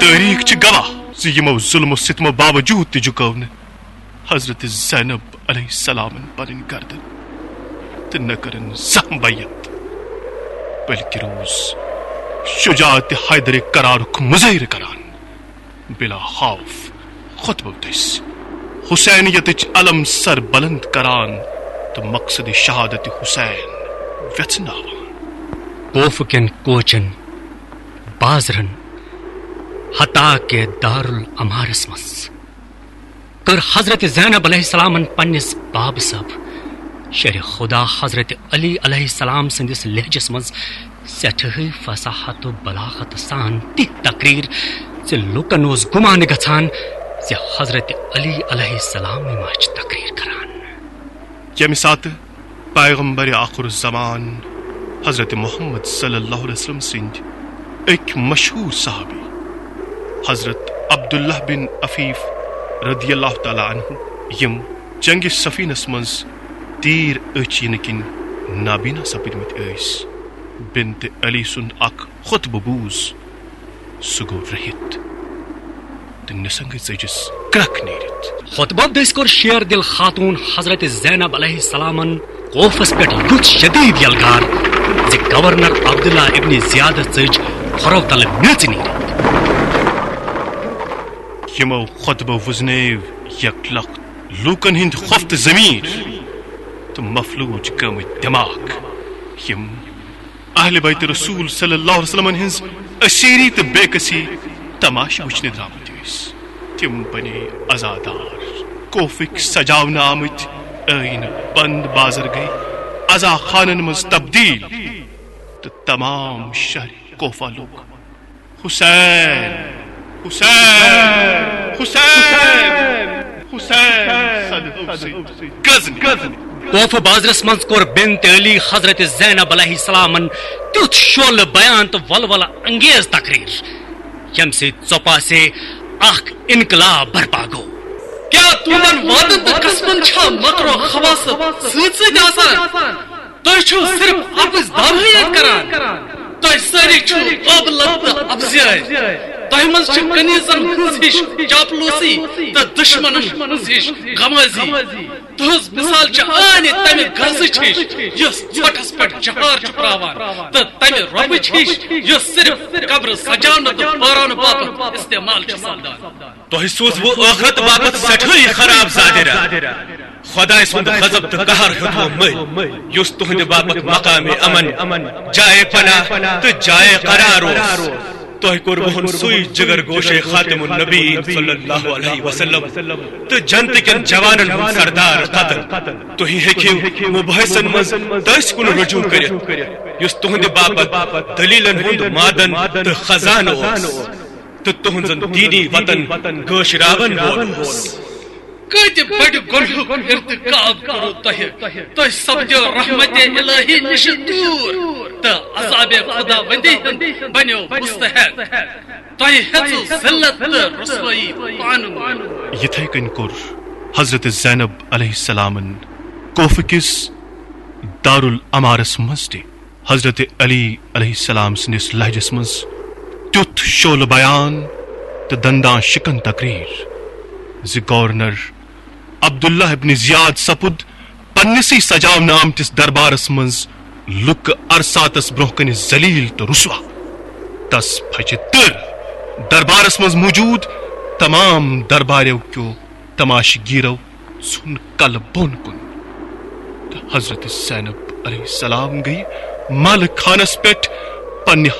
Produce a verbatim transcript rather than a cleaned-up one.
تٲریخ چھِ گواہ زِ یِمو ظلم و ستمو باوجود تہِ جُکٲو نہٕ حضرت زینب علیہ السلامن پنٕنۍ گردن تہٕ نہ کٔرٕن زانٛہہ بیعت، بلکہِ روٗز شجاعت حیدر کرارُک مظٲہرٕ کران، بلا خوف خطبہٕ دٔسۍ حسینیتٕچ علم سر بلند کران تہٕ مقصد شہادت حسین ویژھناوان۔ کوفہٕ کٮ۪ن کوچن، بازرن، حتیٰ کہ دارالعمارس منٛز کٔر حضرت زینب علیہ السلامن پننِس بابہٕ صٲب شیر خدا حضرت علی علیہ السلام سٕنٛدِس لہجس منٛز سٮ۪ٹھاہٕے فصاحت و بلاغت سان تِژھ تقریر زِ لوٗکن اوس گُمان گژھان زِ حضرت علی علیہ السلامٕے ما چھِ تقریر کران۔ ییٚمہِ ساتہٕ پیغمبر آخر الزمان حضرت محمد صلی اللہ علیہ وسلم سٕنٛدۍ أکۍ مشہوٗر صحابی حضرت عبداللہ بن عفیف رضی اللہ تعالیٰ عنہ، یِم جنگ صفینس منٛز تیٖر أچھ یِنہٕ کِنۍ نابینا سپدمٕتۍ ٲسۍ، بنت علی سُنٛد اکھ خطبہٕ بوٗز، سُہ گوٚو رٔہِتھ تہٕ نِسنگہٕ ژٔجِس کرٛکھ نیٖرِتھ۔ خطبہٕ دٔسۍ کوٚر شیر دل خاتون حضرت زینب علیہ السلامن کوفس پٮ۪ٹھ یُتھ شدید یلغار زِ گورنر عبداللہ ابن زیادس ژٔج کھۄرو تلہٕ میٚژ نیٖرِتھ۔ یِمو خطبہٕ وُزنٲو یک لخت لوٗکن ہٕنٛدۍ خۄفتہٕ ضمیٖر تہٕ مفلوج گٲمٕتۍ دٮ۪ماغ، یِم اہل بیت رسول صلی اللہ علیہ وسلمن ہٕنٛز اسیری تہٕ بے کسی تماشہٕ وٕچھنہِ درامٕتۍ ٲسۍ۔ تِم بنے عزادار، کوفٕکۍ سجاونہٕ آمٕتۍ ٲیٖنہٕ بند بازر گٔے عزا خانن منٛز تبدیل تہٕ تمام شہر کوفہ لوٚگ حسین، حسین، حسین، حسین صدف سۭتۍ گزنہِ۔ کوفہ بازرس منٛز کوٚر بنت علی حضرت زینب علیہ السلامن تیُتھ شعلہٕ بیان تہٕ ولولہٕ انگیز تقریر، ییٚمہِ سۭتۍ ژۄپاسے اکھ انقلاب برپا گوٚو۔ کیٛاہ تُہنٛدن وعدن تہٕ قسمن چھا مکر و خباثت سۭتۍ سۭتۍ آسان؟ تُہۍ چھِو صرف اپٕز دعوٲیی یٲتۍ کران۔ تُہۍ سٲری چھِو ابلت تہٕ ابزیٲرۍ۔ تۄہہِ منٛز چھِ کنیزن ہٕنٛز ہِش چاپلوسی تہٕ دشمنن ہٕنٛز ہِش غمازی۔ تُہنٛز مثال چھِ آنہِ تمہِ غرضٕچ ہِش، یۄس ژھۄٹھس پٮ۪ٹھ جہار چھُ پراوان، تہٕ تمہِ رۄبٕچ ہِش، یۄس صرف قبرٕ سجاونہٕ تہٕ پٲراونہٕ باپتھ استعمال چھِ سپدان۔ تۄہہِ سوٗزوٕ ٲخرت باپتھ سٮ۪ٹھٲے خراب زادِرا۔ خۄداے سُنٛد غضب تہٕ قہر ہیوٚتوٕ مٔلۍ، یُس تُہنٛدِ باپتھ مقامِ امن، جایہِ پناہ تہٕ جایہِ قرار اوس۔ تۄہہِ کوٚروُہن سُے جگر گوشے خاتم النبیین صلی اللہ علیہ وسلم تہٕ جنتہٕ کٮ۪ن جوانن ہُنٛد سردار قتل۔ تُہۍ ہیٚکِو مُباحثن منٛز تٔسۍ کُن رجوع کٔرِتھ، یُس تُہنٛدِ باپتھ دلیلن ہُنٛد معدن تہٕ خزانہٕ اوس۔ تہٕ تُہنٛزن دینی وطن گٲشراون وول اوس۔ کۭتہِ بڑِ گۄنہُک ارتکاب کوٚروٕ تۄہہِ؟ تُہۍ سپدیو رحمت الہی نِش دوٗر تہٕ عذاب خداوندی ہُنٛد بنیو مستحق۔ تۄہہِ ہیژٕو ذلت تہٕ رسوٲیی پانہٕ وٲنۍ۔ یِتھے کٔنۍ کوٚر حضرت زینب علیہ السلامن کوفہٕ کِس دارالعمارس منٛز تہِ حضرت علی علیہ السلام سٕنٛدِس لہجس منٛز تیُتھ شعلہٕ بیان تہٕ دنداں شکن تقریر زِ گورنر عبداللہ ابن زیاد سپُد پننسٕے سجاونہٕ آمتِس دربارس منٛز لُکہٕ ارساتس برونٛہہ کنہِ ذلیل تہٕ رسوا۔ تس پھچہِ تٔر۔ دربارس منٛز موجود تمام درباریو کیو تماشہٕ گیرو ژھُن کلہٕ بۄن کُن۔ تہٕ حضرت زینب علیہ السلام گٔیہِ مالہٕ خانس پٮ۪ٹھ پننہِ